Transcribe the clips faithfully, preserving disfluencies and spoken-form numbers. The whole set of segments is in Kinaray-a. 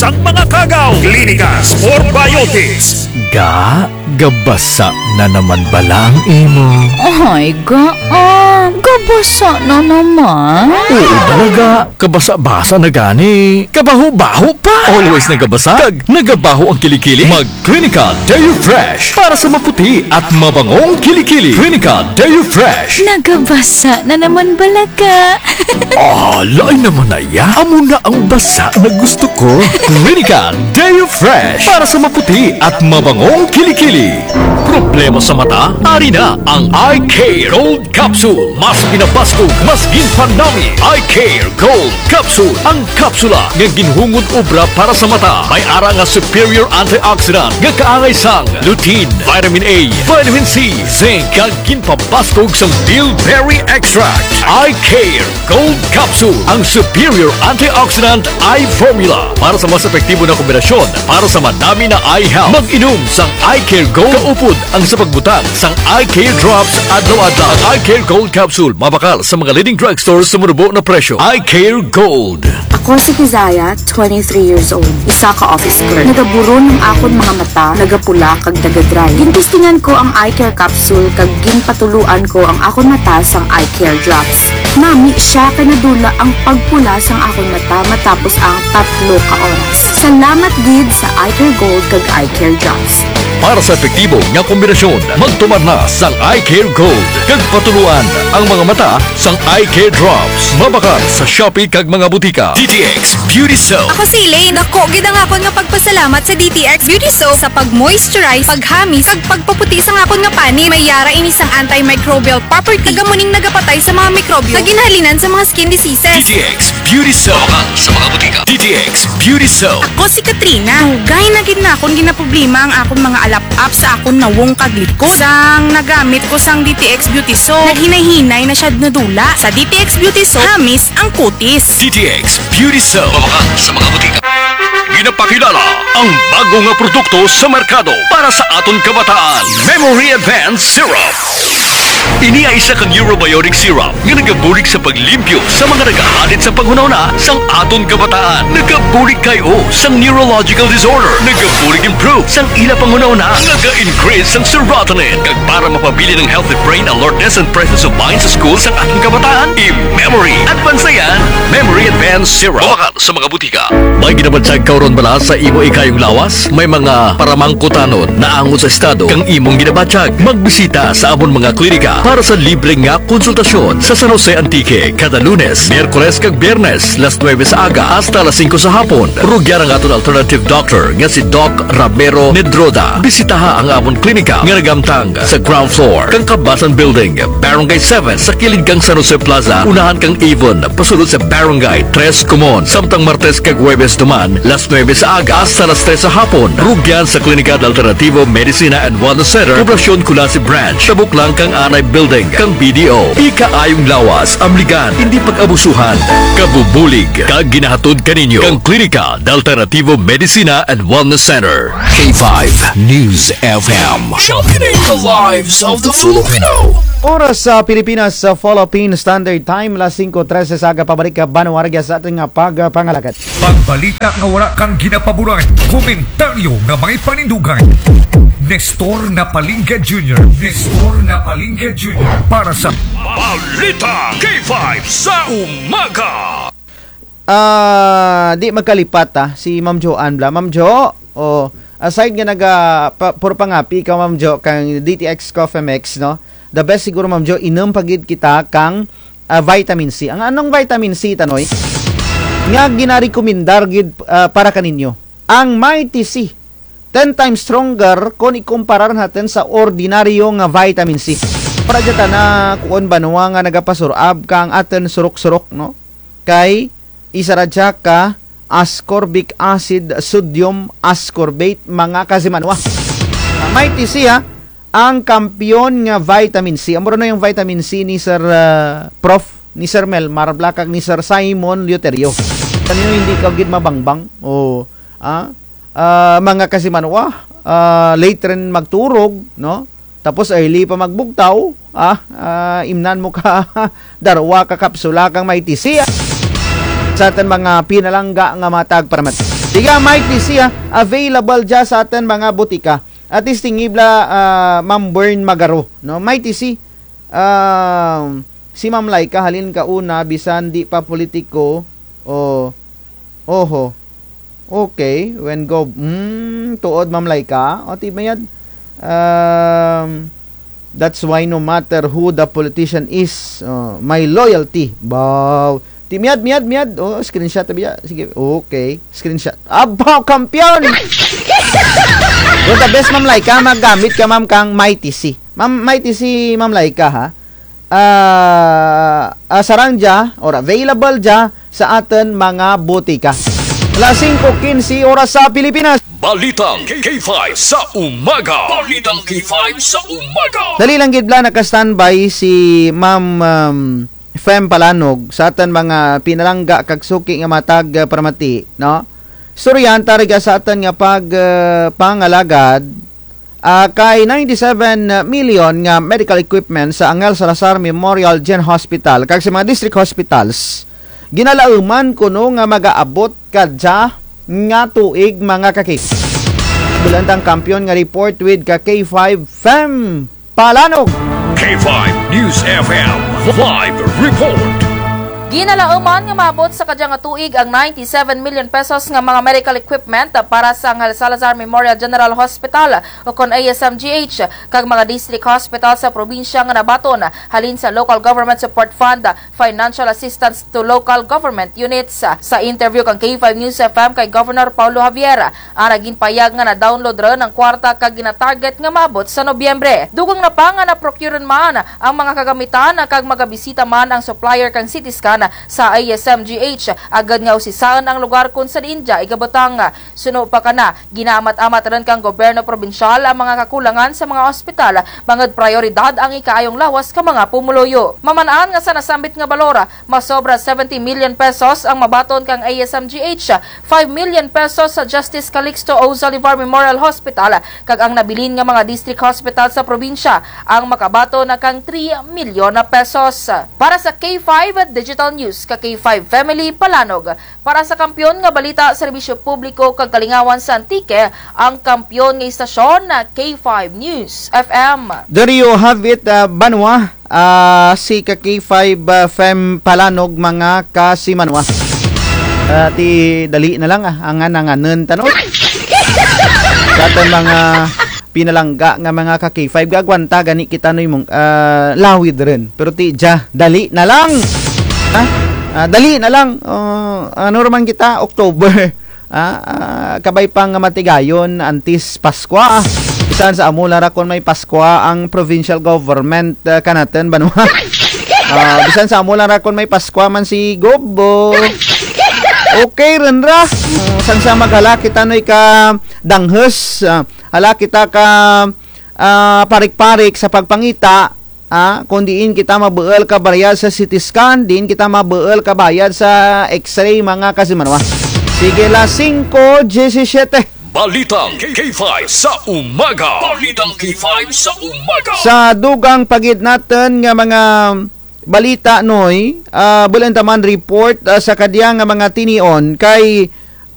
Ang mga kagaw, klinika, sport biotics. Ga, gabasa na naman bala ang imo? Ay, ga, ah, gabasa na naman. Oo, talaga. Kabasa-basa na gani. Kabaho-baho pa. Always nagabasa. Kag nagabaho ang kilikili. Mag Clinical Deo Fresh para sa maputi at mabangong kilikili. Clinical Deo Fresh. Nagabasa na naman bala ka. Ah, lain naman na ya. Amo na ang basa na gusto ko. Clinical Deo Fresh para sa maputi at mabangong kilikili. Problema sa mata? Ari na ang Eye Care Gold Capsule. Mas ginabaskog, mas ginpanami. Eye Care Gold Capsule. Ang kapsula nga ginhungod obra para sa mata. May ara nga superior antioxidant nga kaangay sang lutein, vitamin A, vitamin C, zinc, kag ginpabaskog sang bilberry extract. Eye Care Gold Capsule, ang superior antioxidant eye formula. Para sa mas epektibo na kombinasyon, para sa manami na eye health, mag-inom sang Eye Care Gold kaupod ang sa pagbutang sang Eye Care Drops adlaw-adlaw. Ang Eye Care Gold Capsule, mabakal sa mga leading drugstore sa manubo na presyo. Eye Care Gold. Ako si Kizaya, twenty-three years old, isa ka office clerk. Nagaburon ang akon mga mata, nagapula kag naga-dry. Gintestingan ko ang Eye Care Capsule kag ginpatuluan ko ang akon mata sang Eye Care Drops. Nami siya kay nadula ang pagpula sang akon mata matapos ang tatlo ka oras. Salamat gid sa Eye Care Gold kag Eye Care Drops. Para sa epektibo nga kombinasyon, magtumar na sang Eye Care Gold kag patuluan ang mga mata sang Eye Care Drops. Mabakal sa Shopee kag mga butika. D T X Beauty Soap. Ako si Elaine. Dako gid ang akon nga pagpasalamat sa D T X Beauty Soap sa pag-moisturize, paghamis, kag pagpaputi sang akon nga panit. May ara ini sang antimicrobial property. Kag amo ning nagapatay sa mga mikrobyo nga ginhalinan sa mga skin diseases. D T X Beauty Soap. Mabakal sa mga butika. D T X Beauty Soap. Ako si Katrina. Dugay na gid nakon ginaproblema ang akon mga alap-ap sa akon nawong kag likod. Sang nagamit ko sang D T X Beauty Soap, naghinay-hinay na siya nadula. Sa D T X Beauty Soap, hamis ang kutis. D T X Beauty Soap. Mabakal sa mga butika. Ginapakilala ang bago nga produkto sa merkado para sa aton kabataan. Memory Advance Syrup. Ini ay isa ka neurobiotic syrup nga nagabulig sa paglimpyo sa mga nagahadit sa panghunahuna sang aton kabataan. Nagabulig kay o sang neurological disorder. Nagabulig improve sang ila panghunahuna. Naga-increase sang serotonin. Kag para mapabilin ang healthy brain alertness and presence of mind sa school sang aton kabataan, i-memory. Advance na yan. Memory Advance Syrup. Mabakal sa mga butika. May ginabatyag ka run bala sa imo ikayong lawas? May mga paramangkutanon naangot sa estado kang imong ginabatyag? Magbisita sa amon mga klinika para sa libre nga konsultasyon sa San Jose, Antique, kada Lunes, Miyerkules kag Biyernes, las nuebe sa aga hasta las singko sa hapon. Rugyan ang aton alternative doctor nga si Doc Ramiro Nedroda. Bisitaha ang amon klinika nga naghamtang sa ground floor kang Kabasan Building, Barangay seven, sa kilid kang San Jose Plaza, unahan kang Avon, pasulod sa Barangay Tres Comon. Samtang Martes kag Huwebes duman, las nuebe sa aga hasta las tres sa hapon. Rugyan sa Klinika de Alternativo Medicina and Wellness Center, Poblacion Culasi Branch, tabok lang kang Anay Building kang B D O. Ikaayong lawas, amligan, indi pag-abusuhan. Kabubulig kag ginahatod kaninyo kang Klinika de Alternativo Medicina and Wellness Center. K five News F M. Championing the lives of the Filipino. Oras sa Pilipinas, sa Philippine Standard Time, las singko trese sa aga. Pabalik ka, banwa, rugya sa atun nga pagpangalagad. Pagbalita nga wara kang ginapaboran, komentaryo nga may panindugan. Nestor Napalingga Junior. Nestor Napalingga Junior para sa Balita K five sa umaga. Ah, di magkalipat, ah, si Ma'am Jo Ann bala. Ma'am Jo, o, aside nga naga, pa, puro pangapi ka, Ma'am Jo, kang D T X Coffee Mix, no? The best siguro, Ma'am Jo, inum pa gid kita kang, ah, vitamin C. Ang anong vitamin C, Tanoy? Nga ginarekomendar gid, ah, para kaninyo. Ang Mighty C. Ten times stronger kon ikumparar natun sa ordinaryo nga vitamin C. Para dya tana kuon banwa nga nagapasurab kang atun surok-surok, no? Kay isara dya ka ascorbic acid, sodium ascorbate, mga kasimanwa. Mighty C, ha, ang kampiyon nga vitamin C. Amo ra no ang vitamin C ni Sir, ah, Prof, ni Sir Melmar bala kag ni Sir Simon Leuterio. Kanino hindi ka gid mabangbang? O, ah, ah, mga kasimanwa, ah, late run magturog, no? Tapos early pa magbugtaw, ah, ah, imnan mo ka darwa ka kapsula kang Mighty C, ah. Sa atun mga pinalangga nga matag paramat. Sige, Mighty C, ah, available dya sa atun mga butika. At least tingib la, ah, Ma'am Bern Magaro, no? Mighty C, ah, si Ma'am Laika, halin kauna, bisan di pa politiko, o, oho. Okay, when go, hmm, tuod, Ma'am Laika. O, ti mayad. Um, that's why no matter who the politician is, uh, my loyalty. Baw. Ti mayad, mayad, mayad. O, screenshot ta biya. Sige, okay. Screenshot. Abaw, kampiyon! Well, the best, Ma'am Laika, maggamit ka, ma'am, kang Mighty C. Ma'am, Mighty C, Ma'am Laika, ha? Ah, ah, sarang dya, or available dya sa atun mga butika. Alas singko kinse oras sa Pilipinas. Balitang K five sa umaga. Balitang K five sa umaga. Dali lang gid bala, naka-standby si Ma'am, um, Fem Palanog sa atun mga pinalangga kag suki nga matag, ah, paramati, no? Istoryahan ta rugya sa atun nga pag, ah, pangalagad, ah, kay ninety-seven million nga medical equipment sa Angel Salazar Memorial Gen Hospital kag sa mga district hospitals, ginalauman kuno nga magaabot kadya nga tuig, mga ka-K five. Bul-an ta ang kampiyon nga report with ka-K five Fem Palanog. K five News F M live report. Ginalauman nga maabot sa kadya nga tuig ang ninety-seven million pesos nga mga medical equipment para sa Angel Salazar Memorial General Hospital, ukon A S M G H, kag mga district hospital sa probinsya nga nabaton halin sa Local Government Support Fund Financial Assistance to Local Government Units. Sa interview kang K five News F M kay Governor Paulo Javier, ana, ginpahayag nga na-download run ang kwarta kag gina-target nga maabot sa Nobyembre. Dugang na pa nga na-procure man ang mga kagamitan kag magabisita man ang supplier kang C T scan sa A S M G H, agud nga usisaun ang lugar kon sa diin dya igabutang. Suno pa kana, ginaamat-amat run kang gobyerno probinsyal ang mga kakulangan sa mga ospital, bangud prayoridad ang ikaayong lawas kang mga pumuluyo. Maman-an nga sa nasambit nga balor, masobra seventy million pesos ang mabaton kang A S M G H, five million pesos sa Justice Calixto O. Zaldivar Memorial Hospital, kag ang nabilin nga mga district hospital sa probinsya ang makabaton kang three milyon pesos. Para sa K five Digital News, ka-K five Family Palanog. Para sa kampiyon nga balita, serbisyo publiko kag kalingawan sa Antique, ang kampiyon nga istasyon, K five News F M. There you have it, ah, banwa, ah, si ka-K five, ah, Fem Palanog, mga kasimanwa. Ah, ti dali na lang, ah, angan-anganun ta, no? Sa atun mga pinalangga nga mga ka-K five, gaagwanta gani kita, no, imong, ah, lawid run. Pero ti dya, dali na lang. Ha? Ah, dali na lang. Oh, ano ra man kita, October. Ah, ah, kabay pa nga matigayon antes Paskwa, ah. Bisan sa amo lang ra kon may Paskwa ang provincial government, ah, kanatun, banwa. Ah, bisan sa amo lang ra kon may Paskwa man si Gob, oh. Okay run ra. Oh, sang sa maghala kita, noy, ka danghus, ah, hala kita ka, ah, parik-parik sa pagpangita, ah, kon diin kita mabuul ka bayad sa C T scan, diin kita mabuul ka bayad sa X-ray, mga kasimanwa. Sige, alas singko disisyete. Balitang K five sa umaga. Balitang K five sa umaga. Sa dugang pa gid natun nga mga balita, noy, ah, bul-an ta man report, ah, sa kadya nga mga tinion kay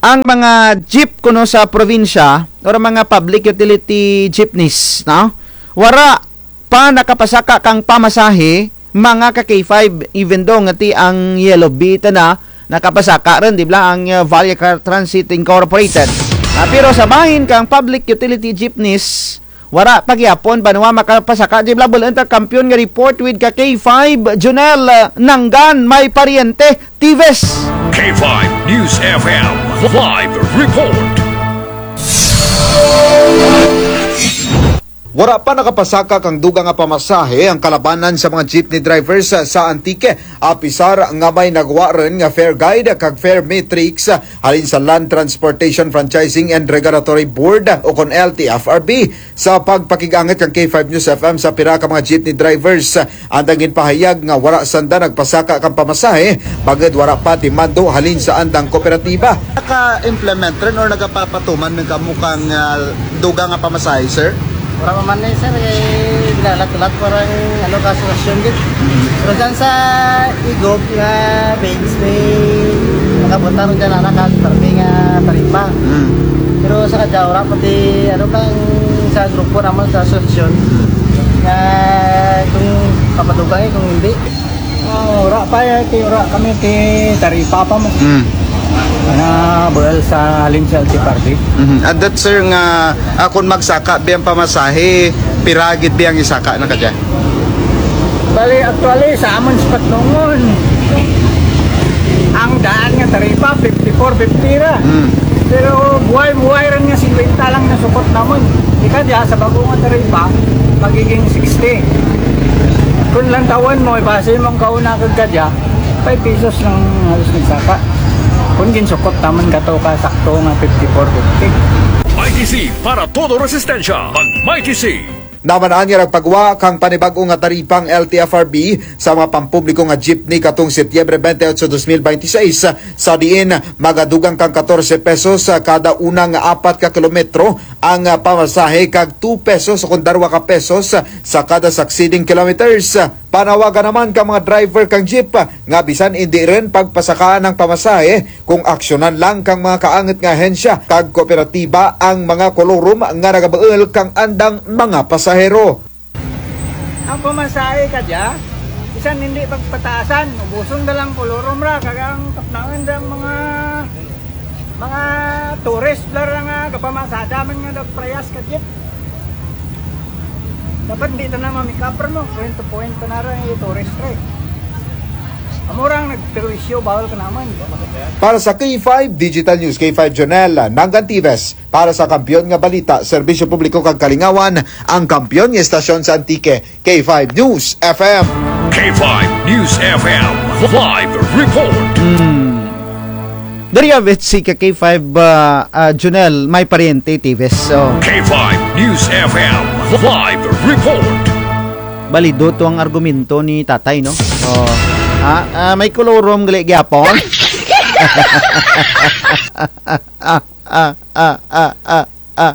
ang mga jeep kuno sa probinsya or mga public utility jeepneys, no? Wara pa nakapasaka kang pamasahe, mga ka-K five, even though nga ti ang Yellow Bee tana nakapasaka run, di bala, ang, ah, Valle Car Transit Incorporated. Ah, pero sa bahin kang public utility jeepneys, wara pa gihapon, banwa, makapasaka. Di bala, bul-an ta kampiyon nga report with ka-K five Junel, ah, Nanggan, may paryente, Tives. K five News F M live report. Wara pa nakapasaka kang dugang nga pamasahe ang kalabanan sa mga jeepney drivers sa Antique, apisar nga may nagwa run nga fare guide kag fare matrix halin sa Land Transportation Franchising and Regulatory Board, ukon L T F R B. Sa pagpakig-angut kang K five News F M sa pira ka mga jeepney drivers, andang ginpahayag nga wara sanda nagpasaka kang pamasahe, bangud wara pa ti mando halin sa andang kooperatiba. Naka-implement run or nagapapatuman man kamo kang, ah, dugang nga pamasahe, sir? Wara pa man ni, sir, kay ginhulat-hulat pa run, ano, ka sitwasyon gid. Pero dyan sa Igob nga base, may Buta run dyan, anak, ang parte nga taripa. Mm. Pero sa kadya, wara pa ti, ano, kang sa grupo namun sa asosasyon, nga kung papadugang, eh, kung hindi. Ah, wara pa, eh, ti wara kami ti taripa pa mo. Mm. Nga buul sa halin sa L T F R B. Mhm. And that, sir, nga, ah, kung magsaka biyang pamasahe, pira gid biyang isaka na kadya? Bali, actually, sa amun sa Patnongon, ang daan nga taripa, fifty-four fifty ra. Mm. Pero buhay-buhay run nga singkwenta lang nasukot namun. Ti kadya, sa bag-o nga taripa, magiging sixty. Kung lantawun mo, ibase mo ang kauna kag kadya, five pesos lang halos nagsaka. Kung ginsukot namun kato ka sakto nga fifty-four fifty. Mighty C para todo resistensya. Mag Mighty C. Naman-an nga nagpagwa kang panibag-o nga taripa ang L T F R B sa mga pampubliko nga jeepney katong Setyembre twenty-eight, dos mil bente seis, sa diin magadugang kang katorse pesos sa kada una nga apat ka kilometro ang, ah, pamasahe kag two pesos o kon darwa ka pesos sa kada succeeding kilometers. Panawagan naman kang mga driver kang jeep nga bisan indi run pagpasakaan ang pamasahe, kung aksyonan lang kang mga kaangut nga ahensya kag kooperatiba ang mga kolorum nga nagabuul kang andang mga pasahero. Ang pamasahe kadya, bisan indi pagpataasan, ubuson da lang kolorum ra, kag ang kapnangan da ang mga, mga tourist bala ra nga gapamasada man nga nagparehas ka jeep. Dapat indi tana ma-make up ra mo, point to point tana ra, eh, tourist ra, eh. Amo ra ang nagperwisyo, bahul kanamun. Para sa K five Digital News, K five Jonel Nangantives, para sa Kampiyon nga Balita, Serbisyo Publiko kag Kalingawan, ang kampiyon nga estasyon sa Antique, K five News F M. K five News F M live report. Hmm. Diri, ah, si ka K five, ah, ah, Junel, may paryente, Tives. So, K five News F M live report. Balido to ang argumento ni Tatay, no? So, ah, ah, may kolorum gali gyapon. Ah, ah, ah, ah, ah. Ah.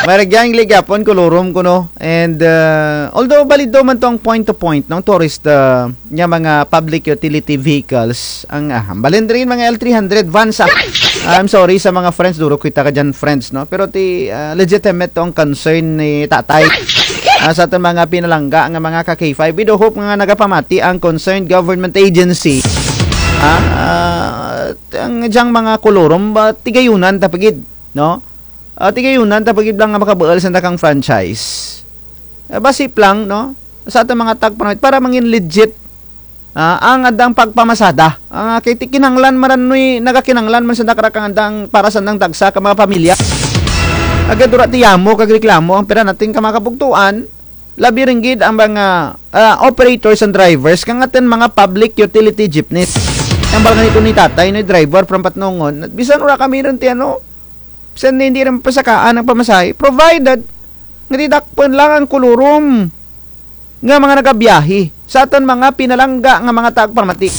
May ra gyan gali gyapon kolorum kuno. And, uh, although balido man to ang point to point, no, tourist, uh, nga mga public utility vehicles, ang, ah, hambalun diri mga L three hundred vans, ah. I'm sorry sa mga friends, duro kita kadyan friends, no? Pero ti, ah, legitimate to ang concern ni Tatay. Ah, sa atun mga pinalangga nga mga ka K five, we do hope nga nagapamati ang concerned government agency. Ah, ah, ang dyang mga kolorum, ba, tigayunan ta pa gid, no? Ah, tigayunan ta pa gid lang nga makabuul sanda kang franchise. Ah, basi lang, no? Sa atun mga tagpermit, para mangin legit, ah, ang andang pagpamasada. Ah, kay ti kinahanglan man ra nuy, nagakinahanglan man sanda kara kang andang, para sandang dagsa ka mga pamilya. Agud wara ti yamo kag reklamo ang pira natun ka mga kabugtuan. Labi run gid ang mga, ah, operators and drivers kang atun mga public utility jeepneys. Hambal gani to ni Tatay, no, driver from Patnongon. Bisan wara kami run ti ano, bisan indi run pasakaan ang pamasahe, provided nga ti dakpun lang ang kolorum nga mga nagabiyahe sa atun mga pinalangga nga mga tagpamati.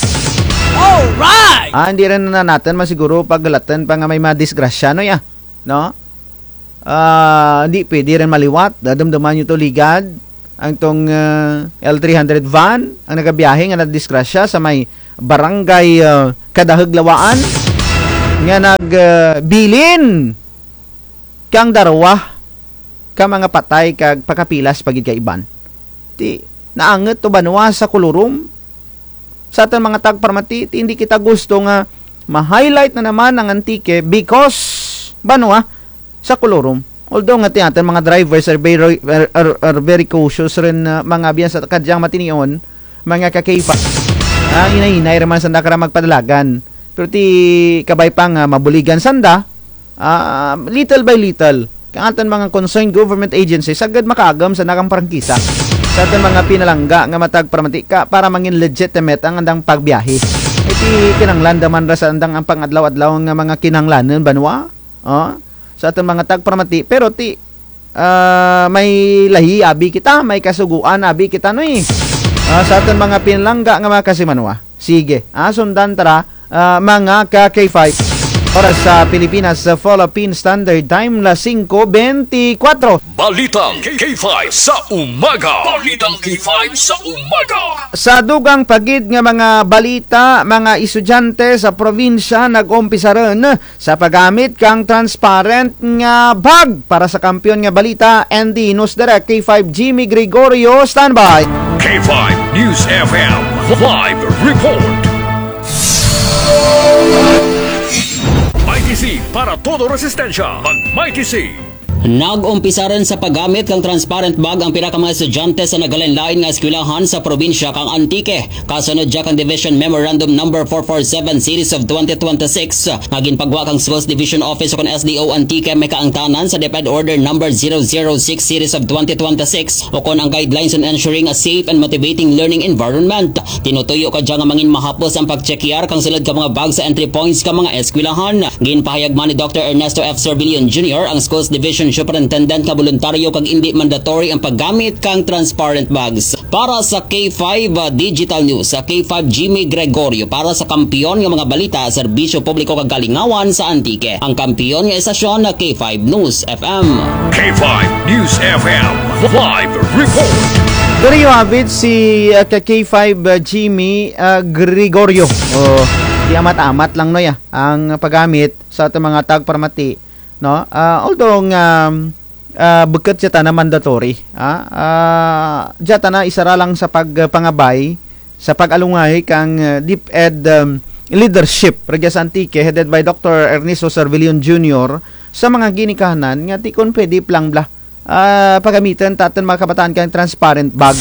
Alright! Ah, indi run na natun man siguro paghulatun pa nga may madisgrasya, no, ya? No? Ah, indi pwede run maliwat. Dadumduman nyo to ligad. Ang tong, ah, L three hundred van, ang nagabiyahe nga nadisgrasya sa may barangay, ah, Kadahug, Lawaan, nga nag, ah, bilin kang darwa ka mga patay kag pakapilas pa gid ka iban. Ti, naangut to banwa sa kolorum. Sa atun mga tagpamati, ti indi kita gusto nga ma-highlight na naman ang Antique because banwa sa kolorum. Although nga ti atun mga drivers are very, are, are, are very cautious run, ah, mga biyan sa kadyang matinion, mga ka K five. Ah, hinay-hinay ra man sanda kara magpadalagan. Pero ti kabay pa nga mabuligan sanda, ah, little by little, kang atun mga concerned government agencies, agud makaagum sanda kang prangkisa sa atun mga pinalangga nga matagpamati ka para mangin legitimate ang andang pagbiyahe. Ti kinahanglan da man ra sa andang ang pang-adlaw-adlaw nga mga kinahanglanun banwa. Oh, sa atun mga tagpamati, pero ti, ah, may lahi abi kita, may kasugoan abi kita, no, eh. Ah, sa atun mga pinalangga nga mga kasimanwa. Sige, ah, sundan ta ra, ah, mga ka K five. Oras sa Pilipinas, sa Philippine Standard Time, las singko bentikwatro. Balitang K five sa umaga. Balitang K five sa umaga. Sa dugang pa gid nga mga balita, mga estudyante sa probinsya nag-umpisa run sa paggamit kang transparent nga bag. Para sa kampiyon nga balita, N D News Direct, K five Jimmy Gregorio, standby. K five News F M live report. Mighty C para todo resistensya. Mag Mighty C. Nag-umpisa run sa paggamit kang transparent bag ang pira ka mga estudyante sa nagalain-lain nga eskwelahan sa probinsya kang Antique. Kasunod dya kang Division Memorandum Number four four seven Series of twenty twenty-six nga ginpagwa kang Schools Division Office ukon S D O Antique, may kaangtanan sa DepEd Order Number zero zero six Series of twenty twenty-six ukon ang Guidelines on Ensuring a Safe and Motivating Learning Environment. Tinutuyo kadya nga mangin mahapos ang pagtsekyar kang sulud ka mga bag sa entry points ka mga eskwelahan. Ginpahayag man ni Doctor Ernesto F Servillion Junior, ang Schools Division Superintendent, nga boluntaryo kag indi mandatory ang paggamit kang transparent bags. Para sa K five, ah, Digital News, sa K five Jimmy Gregorio, para sa kampiyon nga mga balita, serbisyo publiko kag kalingawan sa Antique. Ang kampiyon nga estasyon na K five News F M. K five News F M live report. Diri yo avid si, ah, ka K five, ah, Jimmy, ah, Gregorio. O, di amat-amat lang, no, ya, ang paggamit sa atun mga tagparamati, no? Ah, although nga, ah, bukut dya tana mandatory, ah, ah, dya tana isara lang sa pagpangabay, sa pag-alungay kang, ah, DepEd, um, leadership rugya sa Antique, headed by Doctor Ernesto Servillion Junior, sa mga ginikanan nga ti kon pwede plang bala, ah, pagamitun ta atun mga kabataan kang transparent bag.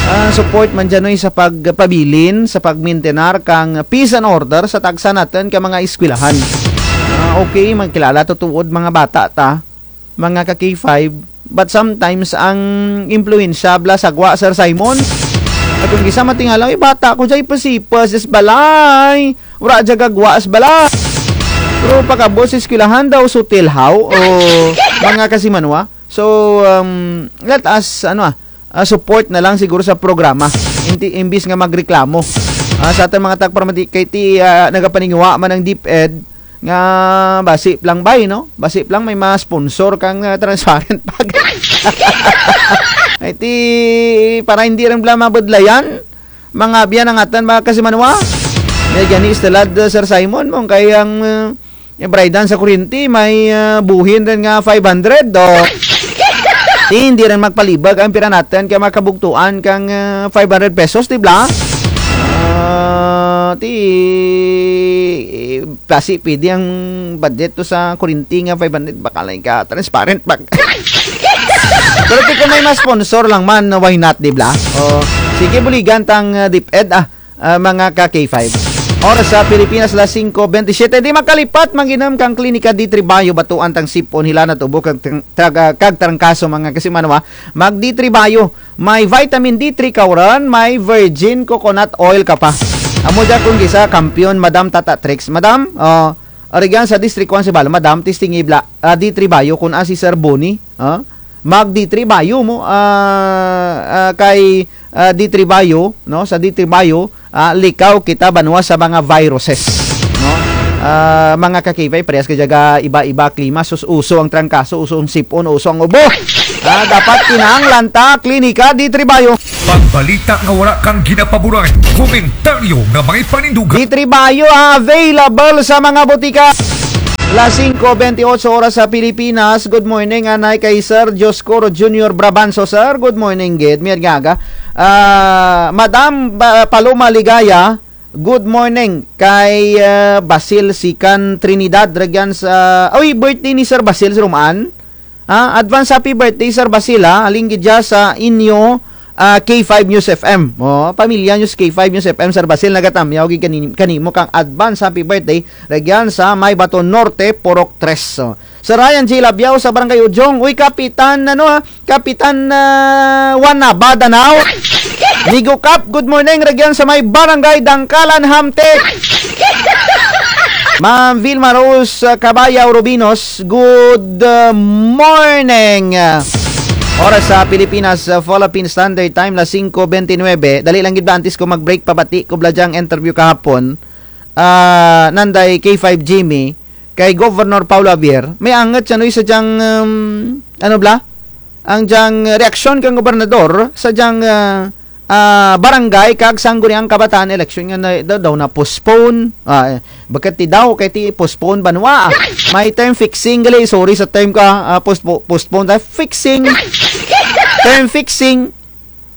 Ah, support man dyan, noy, sa pagpabilin, sa pagmintenar kang peace and order sa tagsa natun ka mga eskwelahan. Ah, okay, magkilala tutuod mga bata ta, mga ka K five, but sometimes ang impluwensya bala sa gwa, Sir Simon. At kon kis-a matingala, "Uy, bata ko dya, ipasipas dya sa balay. Wara dya gagwa sa balay." Pero pag-abot sa eskwelahan daw, sutil haw, o mga kasimanwa. So, um, let us, ano, ah, ah, support na lang siguro sa programa. Inti-, imbis nga magreklamo. Ah, sa atun mga tagparamati, kay ti, ah, nagapaninguha man ang DepEd nga basi plang bay, no? Basi plang may ma-sponsor kang, ah, transparent bag. Ay, ti, para indi run bala mabudlayan, mga abyan ang atun, mga kasimanwa. May gani istelad, ah, Sir Simon, mong kay ang, ah, Yung bayradan sa kuryente, may, ah, buhin run nga five hundred, o. Ti, indi run magpalibag ang pira natun kay makabugtuan kang, ah, five hundred pesos, di bala? Ah, ti, basi pwede ang budget to sa kuryente nga five hundred, baka lang ka transparent bag. Pero ti kon may ma-sponsor lang man, why not, di bala? O, sige, buligan tang, ah, DepEd, ah. Ah, mga ka K five. Oras sa Pilipinas, las singko bentisiete. Di makalipat, mag-inum kang Klinika D three Bio, batuan tang sip-on, hilanat ubo kag trang-, traga-, kag trangkaso, mga kasimanwa. Mag D three Bio. May vitamin D three ka run, may virgin coconut oil ka pa. Amo dya kon kis-a kampiyon, Madam Tata Trix. Madam, o, rugyan sa District one Sibalom, Madam, testingi bala, ah, D three Bio, kon asa si Sir Boni, ah? Mag D three Bio mo, ah, ah, kay, ah, D three Bio, no? Sa D three Bio, ah, likaw kita banwa sa mga viruses, no? Ah, mga ka K five, parehas ka dya ga iba-iba klima, sus, uso ang trangkaso, uso ang sip-on, uso ang ubo. Ah, dapat kinahanglan ta, Klinika D three Bio. Pagbalita nga wara kang ginapaboran, komentaryo nga may panindugan. D three Bio, ah, available sa mga botika. Las singko bentiocho oras sa Pilipinas. Good morning, anay kay Sir Dioscoro Junior Brabanzo, sir. Good morning gid, mayad nga aga. Ah, Madam, ah, Paloma Ligaya, good morning kay, ah, Basil Sikan Trinidad, rugyan sa, uy, birthday ni Sir Basil sa Roman. Ah, advance happy birthday, Sir Basil, ha. Halin gid dya sa inyo, ah, K five News F M. O, pamilya News, K five News F M, Sir Basil, nagatamyaw gid kani-, kanimo kang advance happy birthday. Rugyan sa Maybaton Norte, Purok tres. O. Sir Ryan J Labiao sa Barangay Ujong. Uy, Kapitan, ano, ha? Kapitan, ah, Juan Nava, Danao. Migo Kap, good morning. Rugyan sa may Barangay Dangkalan, Hamtic. Ma'am Vilma Rose, ah, Cabayao Rubinos, good, ah, morning. Oras sa Pilipinas, ah, Philippine Standard Time, las singko bentinuebe. Dali lang gid bala, antes ko mag-break, pabati ko bala dyang interview kahapon. Ah, nanday K five Jimmy, kay Governor Paolo Javier, may angut siya, no, sa dyang, um, ano bala? Ang dyang reaksyon kang gobernador sa dyang, ah, ah, barangay kag sangguniang kabataan eleksyon nga na, daw, daw na-postpone. Ah, eh, bukut ti daw, kay ti postpone banwa, ah. May time fixing gali, sorry sa time ka, ah, postpo-, postpone tayo. Fixing. Time fixing.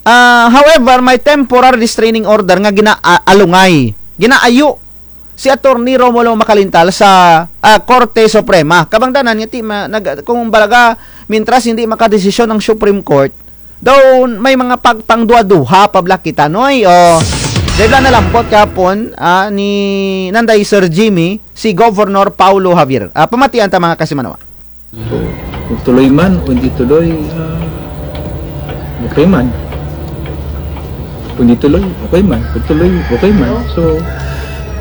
Ah, however, may temporary restraining order nga gina-, a-, alungay. Ginaayo si Attorney Romulo Macalintal sa, ah, Korte Suprema. Kabangdanan nga ti ma-, nag-, kung balaga, mintras hindi makadesisyon ang Supreme Court, daw may mga pagpangduha-duha pa bala kita, noy. O, dahil na nalambot kahapon, ah, ni nanday Sir Jimmy, si Governor Paolo Javier. Ah, pamatian ta, mga kasimanwa. So, kung tuloy man o hindi tuloy, ah, okay man. Kung hindi tuloy, okay man. Kung tuloy, okay man. So,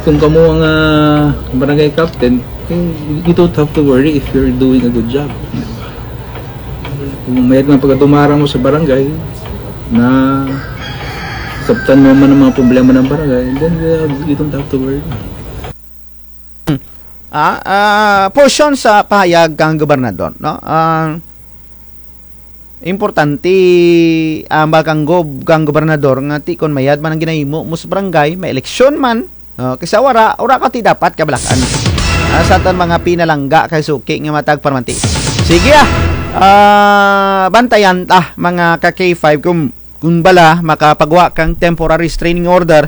kung kamo ang, ah, barangay captain, eh, you don't have to worry if you're doing a good job. Kung mayad man pagkadumara mo sa barangay, nasabtan mo man ang mga problema ng barangay, then, uh, you don't have to worry. Ah, ah, portion sa pahayag kang gobernador, no? Ah, importante, ah, ba kang gob-, kang gobernador nga ti kon mayad man ang ginahimo mo sa barangay, may eleksyon man, no? Kaysa wara, wara ka ti dapat kabalak-an. Ah, sa atun mga pinalangga kay suki nga matag parmanti. Sige, ah. Ah, bantayan ta, mga ka K five, kung, kung bala makapagwa kang temporary restraining order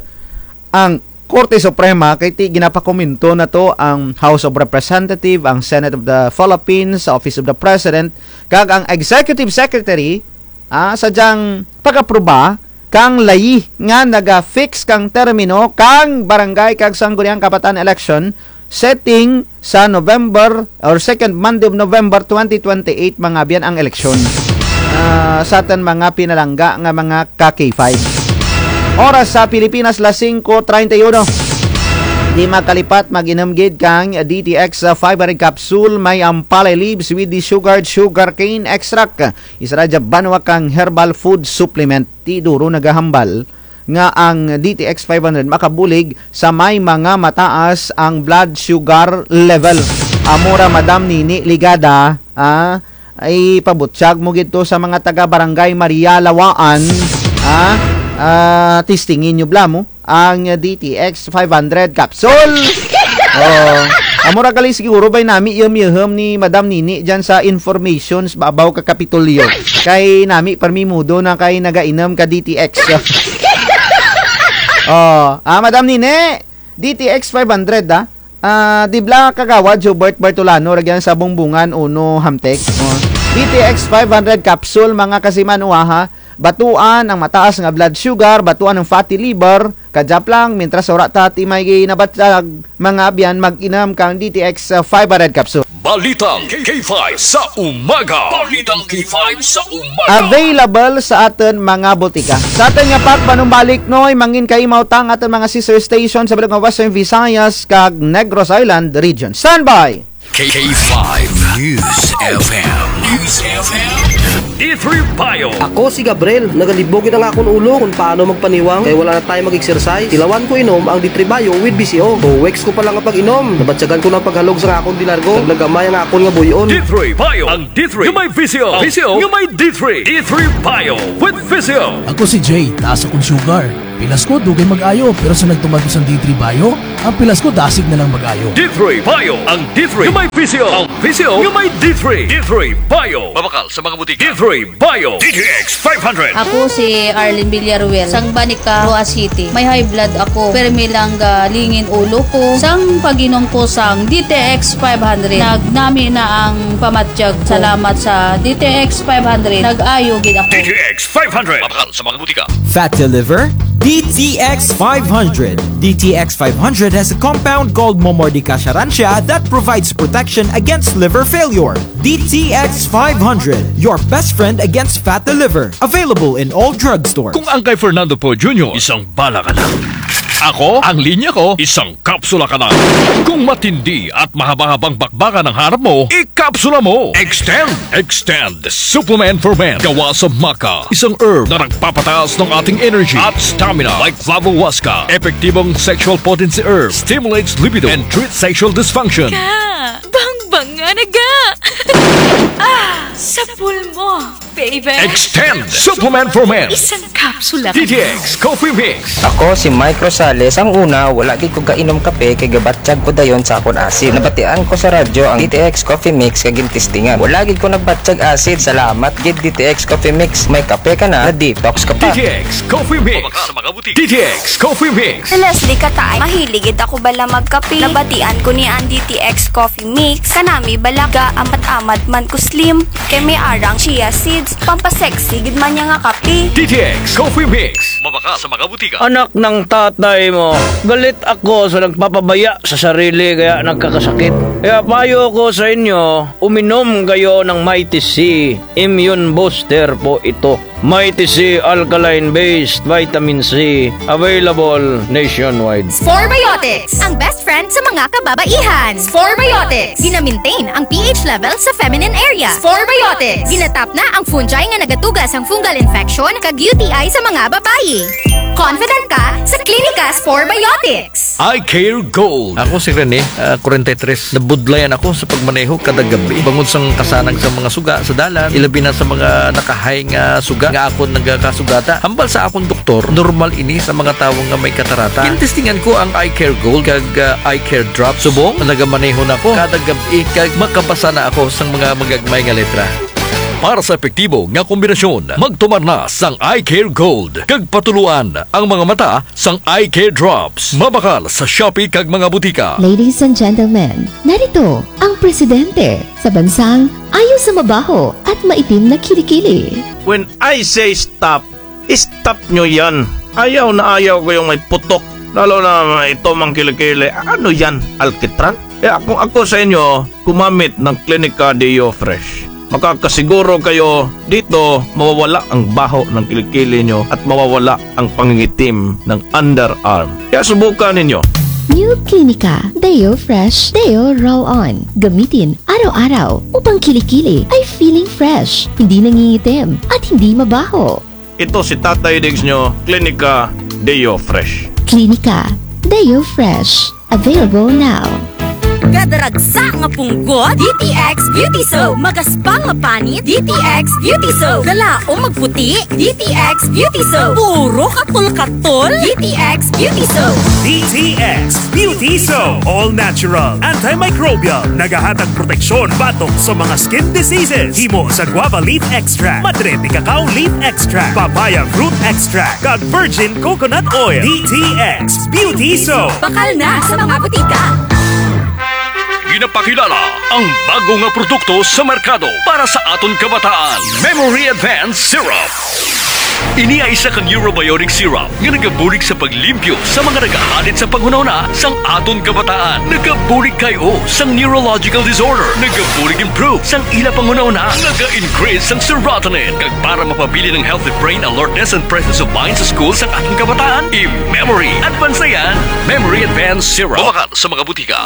ang Korte Suprema, kay ti ginapakomento na to ang House of Representative, ang Senate of the Philippines, Office of the President, kag ang Executive Secretary, ah, sa dyang pag-apruba kang layi nga naga-fix kang termino kang barangay kag sangguniang kabataan election setting sa November or second Monday of November twenty twenty-eight, mga abyan, ang eleksyon. Ah, sa atun mga pinalangga nga mga ka K five. Oras sa Pilipinas, las singko treinta y uno. Di makalipat, mag-inom gid kang D T X five hundred capsule, may ampalaya leaves with the sugar, sugarcane extract. Isara dya banwa kang herbal food supplement. Ti duro nagahambal nga ang D T X five hundred makabulig sa may mga mataas ang blood sugar level. Amo ra, Madam Nini Ligada, ah, ipabutyag mo gid to sa mga taga Barangay Maria Lawaan, ah, ah, testingin nyo bala mo ang D T X five hundred capsule. Oh, amo ra gali siguro bay nami iyum-iyuhum ni Madam Nini dyan sa informations babaw ka Kapitolyo. Kay nami permi mudo na kay nagainom ka D T X. Oh, ah, Madam Nini, D T X five hundred, ah. Ah, di bala Kagawad Hubert Bertolano ra dyan sa Bongbongan uno, Hamtec. Oh. D T X five hundred capsule, mga kasimanwa, ha. Batuan ang mataas nga blood sugar, batuan ang fatty liver, kadya pa lang, mintras wara ta ti may ginabatyag, mga abyan, mag-inom kang D T X, ah, five hundred capsule. Balitang K five sa umaga. Balitang K five sa umaga. Available sa atun mga botika. Sa atun nga pagpanumbalik, noy, mangin kaimaw ta ang atun mga sister station sa bilog nga Western Visayas kag Negros Island Region. Standby! K five News F M. News F M. D three Bio. Ako si Gabriel. Nagalibog gid ang akon ulo kon paano magpaniwang kay wala na tayo mag-exercise. Tilawan ko inom ang D three Bio with V C O. Two weeks ko pa lang nga pag-inom, nabatyagan ko na ang paghalog sa akon di largo. Naglagamay ang akon nga buy-on. D three Bio. Ang D three nga may V C O. V C O nga may D three. D three Bio with V C O. Ako si Jay, taas akong sugar. Pilas ko, dugay mag-ayo, pero sa nagtuman ko sang D three Bio, ang pilas ko dasig na lang mag-ayo. D three Bio, ang D three nga may V C O, ang V C O nga may D three. D three Bio. Mabakal sa mga butika. D three Bio. D T X five hundred. Ako si Arlene Villaruel, sang Banica, Roxas City. May high blood ako, permi lang galingin ulo ko. Sang pag-inom ko sang D T X five hundred, nagnami na ang pamatyag ko. Salamat sa D T X five hundred, nag-ayo gid ako. D T X five hundred. Mabakal sa mga butika. Fat to liver? D T X five hundred. D T X five hundred has a compound called Momordica charantia that provides protection against liver failure. D T X five hundred, your best friend against fat to liver. Available in all drugstores. Kung ang kay Fernando Poe Junior, isang bala ka lang. Ako, ang linya ko, isang kapsula ka na. Kung matindi at mahaba-habang bakbakan ang hanap mo, ikapsula mo. Extend. Extend Supplement for Men. Gawa sa maca, isang herb na nagpapataas ng ating energy at stamina. Like flavohuasca, epektibong sexual potency herb, stimulates libido, and treats sexual dysfunction. Ka, bangbanga na ga. Ah, sa pulmo, baby. Extend Supplement for Men. Isang kapsula ka na. D T X Coffee Mix. Ako si Mike Rosales. Ang una, wala gid ko gainom kape kay gabatyag ko dayon sa akon asid. Nabatian ko sa radyo ang D T X Coffee Mix kag gintistingan. Wala gid ko nagbatyag asid. Salamat gid D T X Coffee Mix. May kape ka na, na-detox ka pa. D T X Coffee Mix. Mabakal sa mga butika. D T X Coffee Mix. Si Leslie Katay, mahilig gid ako bala magkape. Nabatian ko ni ang D T X Coffee Mix. Kanami bala ga-amat-amat man ko slim. Kay may ara ang chia seeds. Pampasexy gid man niya nga kape. D T X Coffee Mix. Mabakal sa mga butika. Anak ng tatay mo, galit ako sa nagpapabaya sa sarili kaya nagkakasakit. Kaya payo ko sa inyo, uminom kayo ng Mighty C. Immune booster po ito. Mighty C alkaline-based vitamin C, available nationwide. Spore Biotics, ang best friend sa mga kababaihan. Spore Biotics, gina-maintain ang pH level sa feminine area. Spore Biotics, ginatap na ang fungi nga nagatuga sang fungal infection kag U T I sa mga babayi. Confident ka sa Klinika Spore Biotics. Eye Care Gold. Ako si Rene, ah, kwarenta y tres. Nabudlayan ako sa pagmaneho kada gabi. Bangod sang kasanag sa mga suga sa dalan, ilabi na sa mga naka-high nga suga nga akon nagakasugata. Hambal sa akon doktor, normal ini sa mga tawo nga may katarata. Gintestingan ko ang Eye Care Gold kag, ah, Eye Care Drops. Subong, nagamaneho na ko kada gab-i kag makabasa na ako sang mga magagmay nga letra. Para sa epektibo nga kombinasyon, magtumar na sang Eye Care Gold kag patuloan ang mga mata sang Eye Care Drops. Mabakal sa Shopee kag mga butika. Ladies and gentlemen, narito ang presidente sa bansang ayaw sa mabaho at maitim na kilikili. When I say stop, stop nyo yan. Ayaw na ayaw ko yung may putok. Lalo na may itom ang kilikili. Ano yan? Alkitran? Kaya kung ako sa inyo, gumamit ng Klinika Deo Fresh. Makakasiguro kayo dito mawawala ang baho ng kilikili nyo at mawawala ang pangingitim ng underarm. Kaya subukan ninyo. New Klinika Deo Fresh Deo Roll-On. Gamitin araw-araw upang kilikili ay feeling fresh, hindi nangingitim, at hindi mabaho. Ito si Tatay Diggs nyo, Klinika Deo Fresh. Klinika Deo Fresh. Available now. Kada ragsa nga punggot, D T X Beauty Soap. Magaspang nga panit, D T X Beauty Soap. Dalaom magputi, D T X Beauty Soap. Puro katol-katol, D T X Beauty Soap. D T X Beauty Soap. All natural, antimicrobial. Nagahatag proteksyon batok sa mga skin diseases. Himo sa guava leaf extract, madre de cacao leaf extract, papaya fruit extract, kag virgin coconut oil. D T X Beauty Soap. Bakal na sa mga butika. Ginapakilala ang bago nga produkto sa merkado para sa aton kabataan, Memory Advance Syrup. Ini ay isa ka neurobiotic syrup nga nagabulig sa paglimpyo sa mga nagahalit sa panghunahuna sang aton kabataan. Nagabulig kay-o sang neurological disorder. Nagabulig improve sang ila panghunahuna. Naga-increase sang serotonin. Kag para mapabilin ang healthy brain alertness and presence of mind sa school sang aton kabataan, i-Memory Advance na yan. Memory Advance Syrup. Mabakal sa mga butika.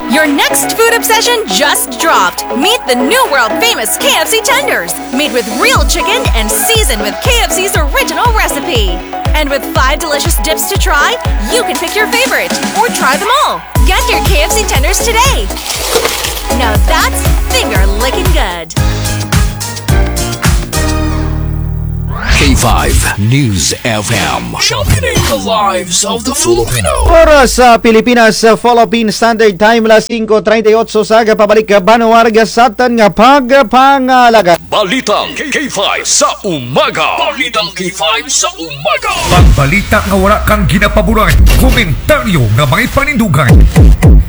Your next food obsession just dropped. Meet the new world famous K F C tenders, made with real chicken and seasoned with K F C's original recipe. And with five delicious dips to try, you can pick your favorite or try them all. Get your K F C tenders today. Now that's finger licking good. K five News F M. Championing the lives of the Filipino. Oras sa Pilipinas, sa Philippine Standard Time, alas singko treinta y ocho sa aga. Pabalik ka, banwa, rugya sa atun nga pagpangalaga. Balitang K five sa umaga. Balitang K five sa umaga. Pagbalita nga wara kang ginapaboran, komentaryo nga may panindugan.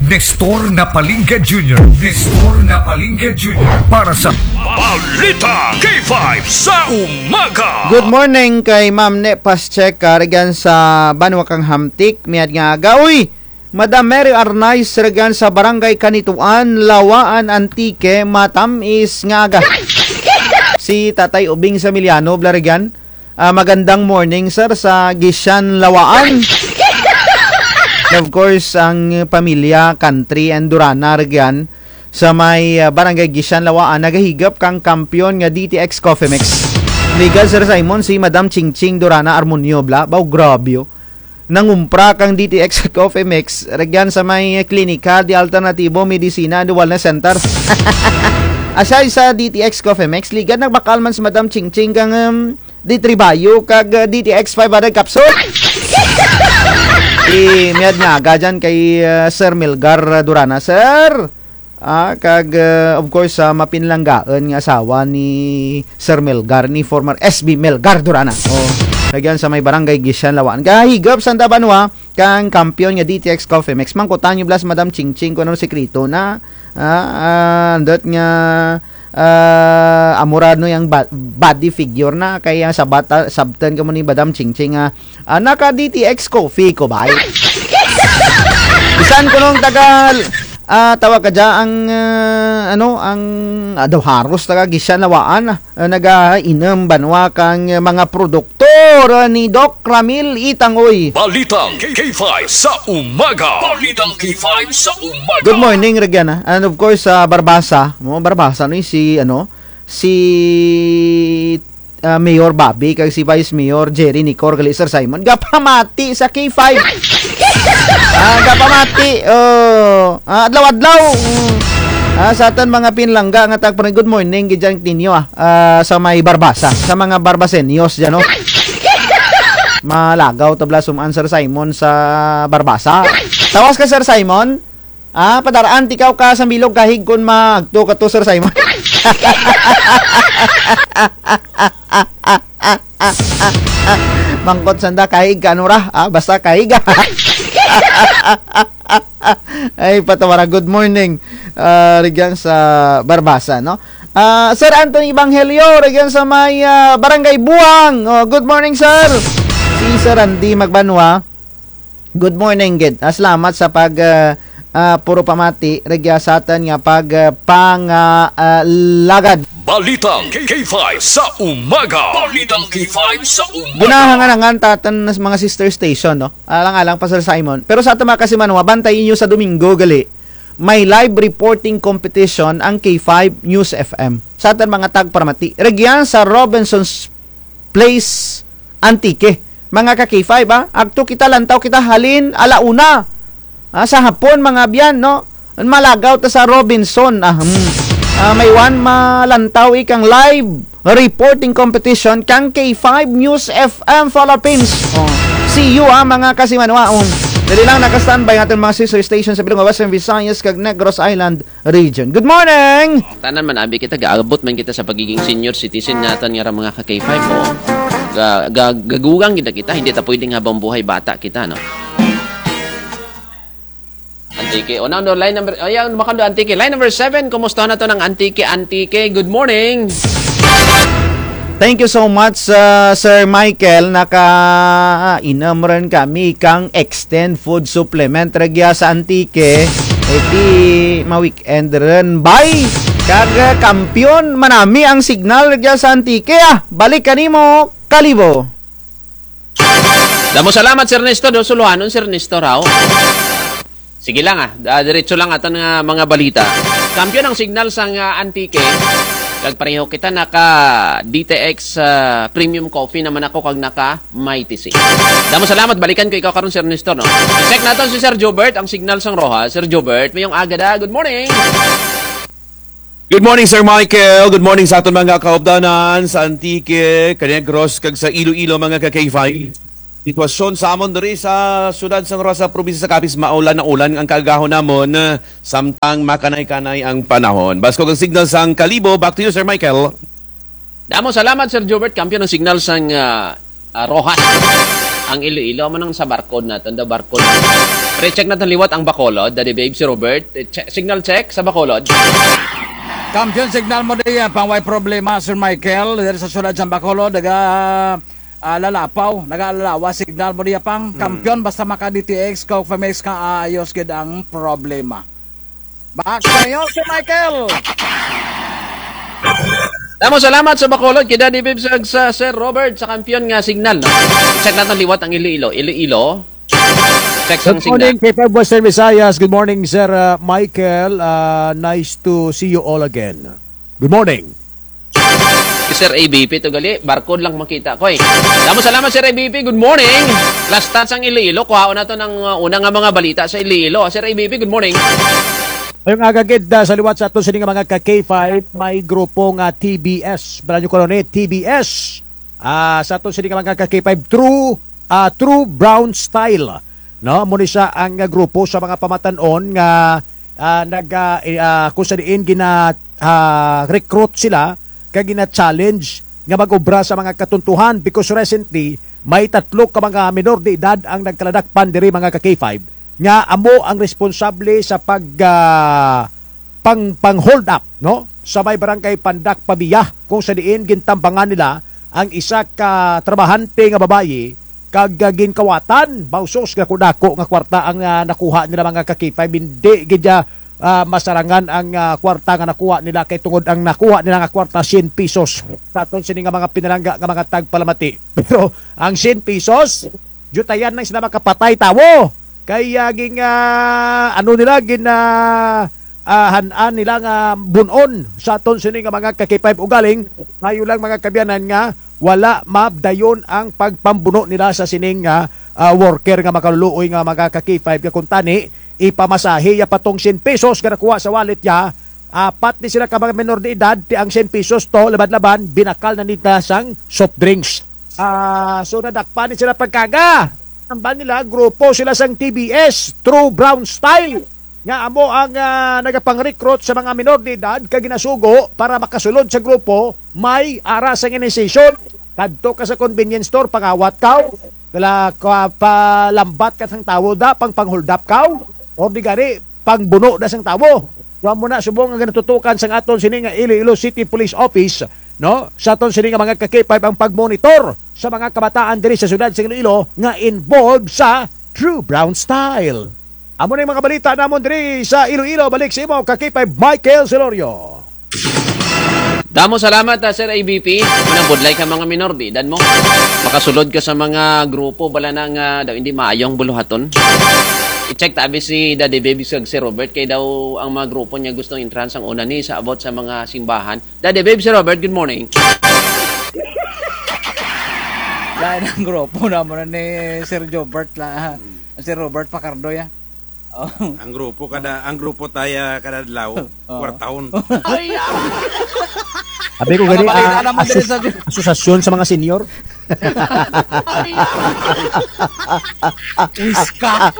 Nestor Napalinga Junior. Nestor Napalinga Junior para sa Balitang K five sa umaga. Good morning kay Ma'am Ne Pascheca, rugyan sa banwa kang Hamtic, mayad nga aga. Uy, Madam Mary Arnaiz, rugyan sa Barangay Canituan, Laua-an, Antique, matam-is nga aga. Si Tatay Ubing Samiliano, bala rugyan. Ah, magandang morning, sir, sa Gishan Lawaan. And of course, ang pamilya, Country and Durana, rugyan, sa may, ah, Barangay Gishan Lawaan, nagahigop kang kampiyon nga D T X Coffee Mix. Ligad, Sir Simon, si Madam Chingching Durana Armonio, bla, baw, grabe, oh. Nangumpra kang D T X Coffee Mix, rugyan sa may Klinika de Alternatibo Medicina and Wellness Center. Aside sa D T X Coffee Mix, ligad nagbakal man si Madam Chingching kang, um, D three Bio kag, uh, D T X five hundred capsule. Mayad nga aga dyan kay, uh, Sir Melgar, uh, Durana. Sir, Ah, kag, ah, of course, sa mapinlanggaon nga asawa ni Sir Melgar, ni former S B Melgar Durana. Oh, rugyan sa may Barangay Gishan Lawaan. Gahigop sanda banwa kang kampiyon nga D T X Coffee Mix. Mangkutan nyo bala si Madam Chingching kon ano sekreto na. Ah, ah, andot nga, ah, amo ra no ang ba-, body figure na. Kay ang sabat-, sabtan kamo ni Madam Chingching, ah, Ah, naka D T X Coffee ko bay. Bisan kuno ang taga, ah, tawag kadya ang, ah, ano, ang, ah, daw haros taga Gishan Lawaan, ah, nagainom banwa kang, ah, mga produkto, ah, ni Doc Ramil Itangoy. Balitang K five sa umaga. Balitang K five sa umaga. Good morning, rugyan, ah. And of course, sa Barbasa. Mo, Barbasa, no, si, ano, si, ah, Mayor Bobby kag si Vice Mayor Jerry Nicor gali, Sir Simon, gapamati sa K five. Ah, gapamati, oh, ah, adlaw-adlaw. Mm. Ah, sa atun mga pinlangga nga tagpre-, good morning gid dyan ninyo, ah, ah, sa may Barbasa, sa mga Barbasenyos dyan, no? Malagaw ta bala sum-an, Sir Simon, sa Barbasa. Tawas ka, Sir Simon? Ah, padar-an ti kaw ka sambilog kahig kon maagto kato, Sir Simon. Mangkot sanda kahig ka, ano ra? Ah, basta kahig, ah. Ay, patawara. Good morning. Ah, rugyan sa Barbasa, no? Ah, Sir Anthony Evangelio, rugyan sa may, ah, Barangay Buang. Oh, good morning, sir. Si Sir Randy Magbanwa. Good morning gid. Ah, salamat sa pag, ah, ah, puro pamati rugya sa atun nga pag, ah, pang, ah, ah, lagad. Balitang K five sa umaga. Balitang K five sa umaga. Ginahangan-hangan ta atun sa mga sister station, no? Alang-alang pa, Sir Simon. Pero sa atun mga kasimanwa, bantayi nyo sa Domingo gali. May live reporting competition ang K five News F M. Sa atun mga tagparamati. Rugyan sa Robinson's Place, Antique. Mga ka K five, ah, agto kita, lantaw kita halin ala una. Ah, sa hapon, mga abyan, no? Malagaw ta sa Robinson, ah, hmm. Ah, mayad malantaw ikang live reporting competition kang K five News F M Philippines. Oh. See you, ah, mga kasimanwa, oh. Dali lang, naka-standby ang atun mga sister station sa bilog nga Western Visayas kag Negros Island Region. Good morning! Tanan man, abi kita, gaabot man kita sa pagiging senior citizen natun nga ra mga ka K five, o. Ga-, ga-, gagugang gid kita, hindi ta pwedeng habang buhay bata kita, no? Antique. O, na, no, line number, ayan, makando Antique. Line number seven, kumusta na to ng Antique? Antique, good morning. Thank you so much, uh, Sir Michael. Naka, ah, inom run kami kang Extend Food Supplement rugya sa Antique. E ti ma-weekend run, bay. Kag, ah, kampiyon man nami ang signal rugya sa Antique, ah. Balik kanimo, Kalibo. Damo salamat, Sir Nestor. Do, suluhanon, Sir Nestor, haw. Sige lang, ah. Ah, diretso lang atun nga mga balita. Kampiyon ang signal sang, ah, Antique. Kag pareho kita naka D T X, ah, Premium Coffee naman ako kag naka Mighty C. Damo salamat, balikan ko ikaw karon, Sir Nestor, no? Check natun si Sir Jobert, ang signal sang Roxas. Sir Jobert, mayong aga da. Good morning. Good morning, Sir Michael. Good morning sa atun mga kaupdanan sa Antique, Negros, kag sa Iloilo, mga ka K five. Sitwasyon sa amon diri sa siyudad sang Roxas, probinsya sa Capiz, maulan na ulan ang kaagahon namon, samtang makanay-kanay ang panahon. Baskog ang signal sang Kalibo. Back to you, Sir Michael. Damo salamat, Sir Jobert. Kampiyon ang signal sang, ah, ah, Roxas. Ang Iloilo, amo nang sa barkod natun, daw barkod. Pre-check natun liwat ang Bacolod. Daddy Babe, si Robert. Eh, che-, signal check sa Bacolod. Kampiyon signal mo diya, pang way problema, Sir Michael. Diri sa siyudad sang Bacolod, naga, ah, lalapaw, nagalalawa signal mo diya, pang. Hmm. Kampiyon, basta maka D T X, Coffee Mix ka, ayos gid ang problema. Back sa'yo, Sir Michael. Damo salamat sa Bacolod, kay Daddy Bibs, sa Sir Robert, sa kampiyon nga signal, no? Check natun liwat ang Iloilo. Iloilo. Check sa signal. Good morning, K five Western Visayas. Good morning, Sir, uh, Michael. Uh, nice to see you all again. Good morning. Si Sir A B P to gali, barcode lang makita ko eh. Damo salamat, Sir A B P. Good morning. Last touch ang Iloilo. Kuhaon natun ang, uh, una nga mga balita sa Iloilo. Sir A B P, good morning. Mayong aga gid, ah, sa liwat sa atun sini nga mga ka K five, may grupo nga T B S. Bala nyo kuno ni T B S. Ah, sa atun sini nga mga ka K five, True, ah, True Brown Style. No, amo ni siya ang, ah, grupo sa mga pamatan-on nga, ah, nag, ah, i-, ah, kung sa diin gina, ah, recruit sila, kag gina-challenge nga mag-obra sa mga katuntuhan, because recently, may tatlo ka mga minor de edad ang nagkaladakpan diri, mga ka K five, nga amo ang responsable sa pag, ah, pang, pang-hold up, no? Sa may barangay Pandak, Pavia, kung sa diin gintambangan nila ang isa ka trabahante nga babayi, kag, ah, ginkawatan, mausos nga dako-dako nga kwarta ang, ah, nakuha nila, mga ka K five. Hindi gid, ah, ah, masarangan ang, ah, kwarta nga nakuha nila, kay tungod ang nakuha nila nga kwarta, syen pesos. Sa atun sini nga mga pinalangga nga mga tagpalamati. Pero ang syen pesos, diyutayan lang sila makapatay tawo. Kay, ah, ging, ah, ano nila, gin, ah, ah, han-an nila nga bun-on sa atun sini nga mga ka K five, ugaling, maayo lang, mga kaabyanan, nga wala mapadayon ang pagpambuno nila sa sining, ah, ah, worker nga makaluluoy nga mga ka K five, nga kung tani, ipamasahe ya pa tong syen pesos nga nakuha sa wallet ya, apat ni sila ka mga menor de edad, ti ang syen pesos to, laban-laban, binakal na nila sang soft drinks. Ah, so nadakpan ni sila pagkaga. Hambal nila, grupo sila sang T B S, True Brown Style, nga amo ang, ah, nagapang-recruit sa mga menor de edad, kag ginasugo para makasulod sa grupo, may ara sang initiation. Kadto ka sa convenience store, pangawat kaw, kala ka, palambat ka sang tawo da, pang, pang-hold up kaw, or di gani, pangbuno da sang tawo. So, amo na subong ang ginatutukan sang atun sini nga Iloilo City Police Office, no? Sa atun sini nga mga ka K five ang pagmonitor sa mga kabataan diri sa syudad sa Iloilo nga involved sa True Brown Style. Amo na ang mga balita namon diri sa Iloilo. Balik sa imo, ka K five Michael Celorio. Damo salamat, ah, Sir A B P. Manang budlay ka mga minor de edad mo. Makasulod ka sa mga grupo, bala na nga daw hindi maayo ang buluhaton. I-check ta abi si Daddy Baby kag Sir Robert, kay daw ang mga grupo niya gustong entrance ang una ni sa about sa mga simbahan. Daddy Baby, Sir Robert, good morning. Lain ang grupo namon ni Sir Jobert la. Sir Robert Pacardo ya. Oh. Ang grupo kada, ang grupo taya kada adlaw, oh, kwartahon. Ay, ah! Abi ko gani, mga balita ah, namon diri asos-, sa asosasyon sa mga senior. Ay, ah! Wiska.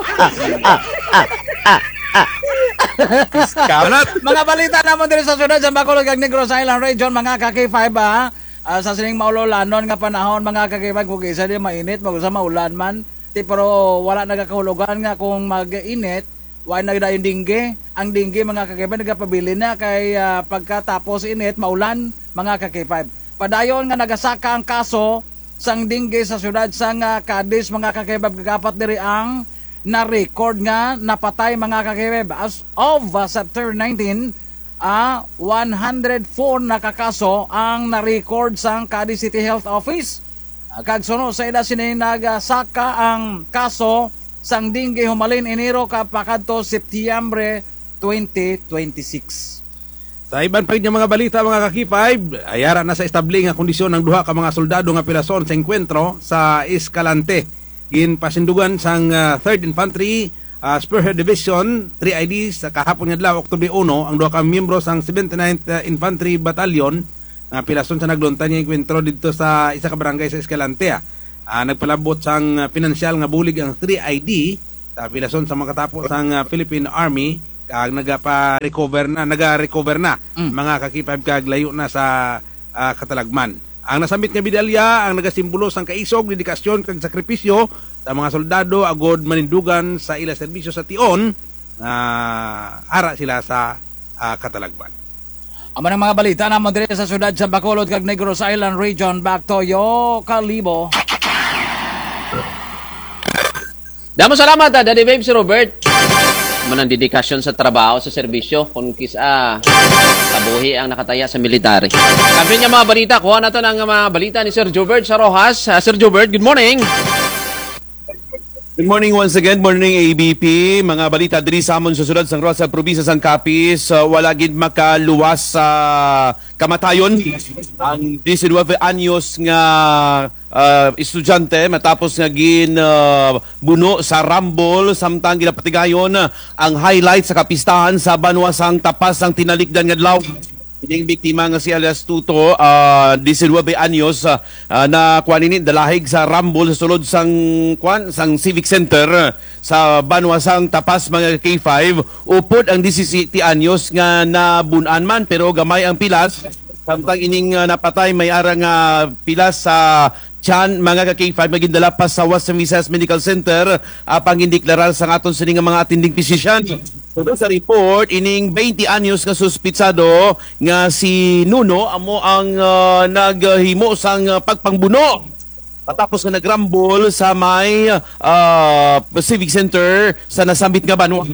Wiska. Mga balita namon diri sa syudad sa Bacolod kag Negros Island Region, mga ka K five, ah. Ah, sa sining maululanon nga panahon, mga ka K five, kung isa di mainit, mag-usa maulan man. Ti, pero wala nagakahulugan nga kung mag-init, wa na dayon dengue. Ang dengue, mga ka K five, nagapabilin na kay, ah, pagkatapos init, maulan, mga ka K five. Padayon nga nagasaka ang kaso sang dengue sa syudad sang, ah, Cadiz, mga ka K five, kag apat diri ang na-record nga napatay, mga ka K five. As of, ah, September nineteen, ah, one hundred four na ka kaso ang na-record sang Cadiz City Health Office. Ah, kag suno sa ida sini nagasaka ang kaso sang dengue humalin Enero ka pakadto Setyembre twenty twenty-six. Sa iban pa gid nga mga balita, mga ka K five, ay ara na sa estable nga kondisyon ang duha ka mga soldado nga pilason sa engkwentro sa Escalante. Ginpasindugan sang, ah, Third Infantry, ah, Spearhead Division, three I D, sa kahapon nga adlaw, Oktubre uno, ang duha ka miyembro sang seventy-ninth, ah, Infantry Battalion, nga pilason sa naglunta nga engkwentro didto sa isa ka barangay sa Escalante, ah. Ah, nagpalabot sang, ah, pinansyal nga bulig ang three I D, sa pilason sa makatapo sang, ah, Philippine Army, kag nagapa-recover na, naga-recover na, mm, mga ka K five, kag layo na sa, ah, katalagman. Ang nasambit nga medalya ang nagasimbolo sang kaisog, dedikasyon, kag sakripisyo sa mga soldado agud manindugan sa ila serbisyo sa tion nga ara sila sa, ah, katalagman. Amo na ang mga balita namon diri sa syudad sa Bacolod kag Negros Island Region. Back to you, Kalibo. Damo salamat, ah, Daddy Babes Robert. Amo nang dedikasyon sa trabaho, sa serbisyo, kon kis-a kabuhi ang nakataya sa military. Kampiyon nga mga balita, kuha naton ang mga balita ni Sir Jobert sa Roxas. Ah, Sir Jobert, good morning. Good morning once again. Morning, A B P. Mga balita diri sa amon sa syudad sang Roxas, sa probinsya sang Capiz, ah, wala gid makaluwas sa kamatayon ang diecinueve anyos nga, ah, estudyante matapos nga gin, ah, buno sa rambol, samtang ginapatigayon ang highlight sa kapistahan sa banwa sang Tapas sang tinalikdan nga adlaw. Ining biktima nga si alias Tuto, ah, diecinueve anyos, ah, ah, nakuan ini, dalahig sa rambol sa sulod sang, kuan, sang Civic Center sa banwa sang Tapas, mga ka-K five. Upod ang disisiyete anyos nga nabun-an man, pero gamay ang pilas. Samtang ining, ah, napatay, may ara nga pilas sa tiyan, mga ka-K five, nga gindala pa sa Western Visayas Medical Center, apang gindeklarar sang aton sini nga mga attending physician. Suno sa report, ining baynte anyos nga suspitsado nga si Nuno amo ang, ah, naghimo sang, ah, pagpangbuno matapos nga nagrambol sa may, ah, Civic Center sa nasambit nga banwa.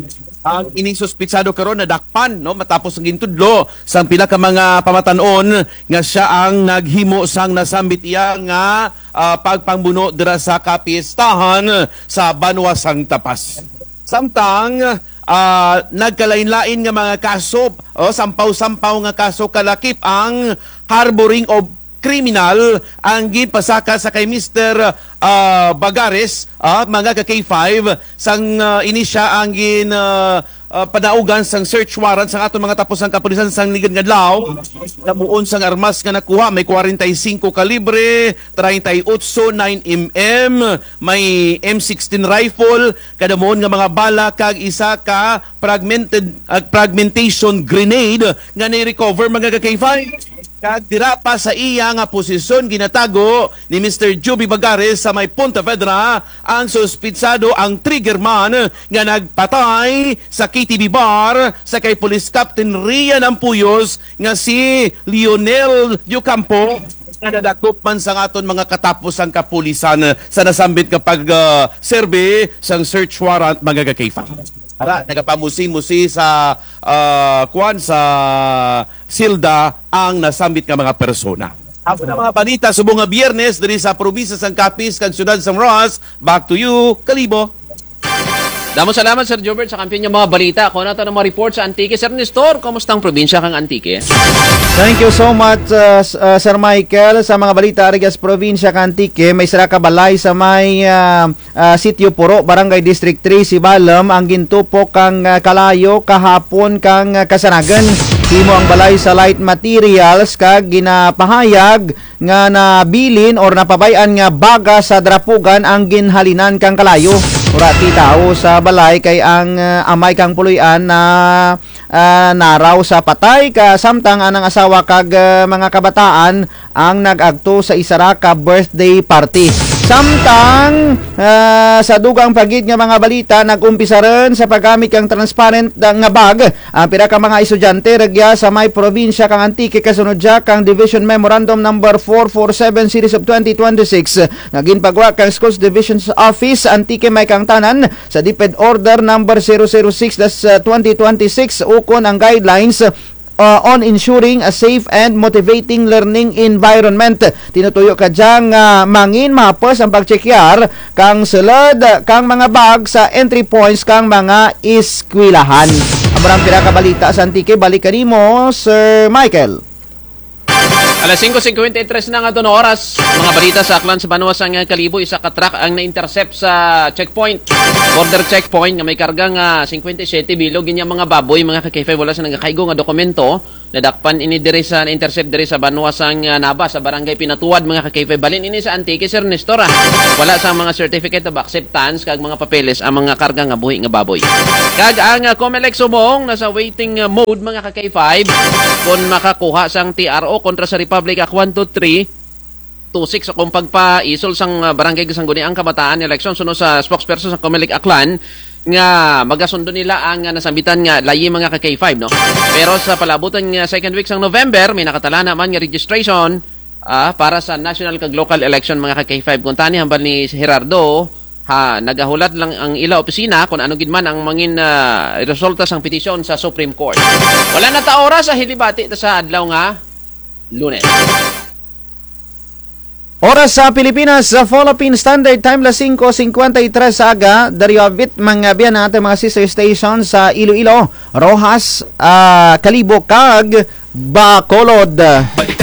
Ang ining suspitsado karon nadakpan, no, matapos nga gintudlo sang pila ka mga pamatan-on nga siya ang naghimo sang nasambit iya nga, ah, pagpangbuno dira sa kapistahan sa banwa sang Tapas. Samtang, ah, nagkalain-lain nga mga kaso, o, sampaw-sampaw nga kaso kalakip ang harboring of criminal ang ginpasaka sa kay Mister, ah, Bagares, ah, mga ka-K five, sang, ah, ini siya ang gin, ah, ah, panaugan sang search warrant sang aton mga taposang kapulisan sang ligad nga adlaw. Kadamuon sang armas nga nakuha, may kwarenta y singko kalibre, treinta y ocho nine M M, may M sixteen rifle, kadamuon nga mga bala, kag isa ka fragmented, ah, fragmentation grenade nga na-recover, mga ka-K five. Kag dira pa sa iya nga posisyon, ginatago ni Mister Juby Bagares sa may Pontevedra ang suspitsado, ang trigger man nga nagpatay sa K T V bar sa kay Police Captain Rian Ampuyos nga si Lionel Diocampo, nga nadakop man sang aton mga katapusang kapulisan sa nasambit nga pag, ah, serbi sang search warrant, mga ka-K five. Ara, nagapamusi-musi sa, ah, kuan, sa silda ang nasambit nga mga persona. Amo na mga balita subong nga Biyernes diri sa probinsya sang Capiz kag syudad sang Roxas. Back to you, Kalibo. Damo salamat, Sir Jobert, sa kampiyon nga mga balita. Kuha naton ang mga report sa Antique. Sir Nestor, kumusta ang probinsya kang Antique? Thank you so much, uh, s-, uh, Sir Michael. Sa mga balita ari sa probinsya kang Antique, may sara ka balay sa may, uh, ah, Sitio Puro, Barangay District three, Sibalom, ang gintupok kang, ah, kalayo kahapon kang, ah, kasanagan. Himo ang balay sa light materials kag ginapahayag nga nabilin or napabay-an nga baga sa drapugan ang ginhalinan kang kalayo. Wara ti tawo sa balay kay ang, ah, amay kang puloy-an na ah, naraw sa patay, ka samtang anang asawa kag, ah, mga kabataan ang nag-agto sa isara ka birthday party. Samtang, ah, sa dugang pa gid nga mga balita, nag-umpisa run sa paggamit kang transparent nga bag ang pira ka mga estudyante rugya sa may probinsya kang Antique, kasunod dya kang Division Memorandum Number four four seven Series of twenty twenty-six nga ginpagwa kang Schools Division's Office Antique, may kang tanan sa DepEd Order Number zero zero six dash twenty twenty-six ukon ang guidelines, uh, on ensuring a safe and motivating learning environment. Tinutuyo kadya nga mangin mahapos ang pagtsekyar kang sulud kang mga bag sa entry points kang mga eskwelahan. Amo ra ang pira ka balita sa Antique, balik kanimo, Sir Michael. Alas singko singkwenta y tres na ang aton oras. Mga balita sa Aklan sa banwa sang Kalibo, isa ka truck ang na-intercept sa checkpoint. Border checkpoint nga may karga nga singkwenta y siyete bilog gid nga mga baboy, mga ka-K five, wala sa nagakaigo nga dokumento. Nadakpan ini diri sa, na-intercept diri sa banwa sang, ah, Nabas, sa barangay Pinatuwad, mga ka-K five. Balhin ini sa Antique, Sir Nestor, ah. Wala sa mga certificate of acceptance kag mga papeles ang mga karga nga buhi nga baboy. Kag ang, ah, Comelec subong nasa waiting, ah, mode, mga ka-K five, kon makakuha sang T R O kontra sa Republic Act one two three two six o kon pagpaisol sang, ah, Barangay Sangguniang Kabataan election, suno sa spokesperson sa Comelec Aklan, nga magasundo nila ang, ah, nasambitan nga layi, mga ka-K five, no? Pero sa palabutan nga second week sang November, may nakatala na man nga registration, ah, para sa national kag local election, mga ka-K five. Kon tani hambal ni Gerardo, Ha, nagahulat lang ang ila opisina kung ano gid man ang mangin, ah, resulta sang petisyon sa Supreme Court. Wala na ta oras, ah, hilibati ta sa adlaw nga Lunes. Oras sa Pilipinas, sa Philippine Standard Time, las singko singkwenta y tres sa aga, daryo abit mga biyan ang atun mga sister station sa Iloilo, Roxas, ah, Kalibo, kag Bacolod. Balitang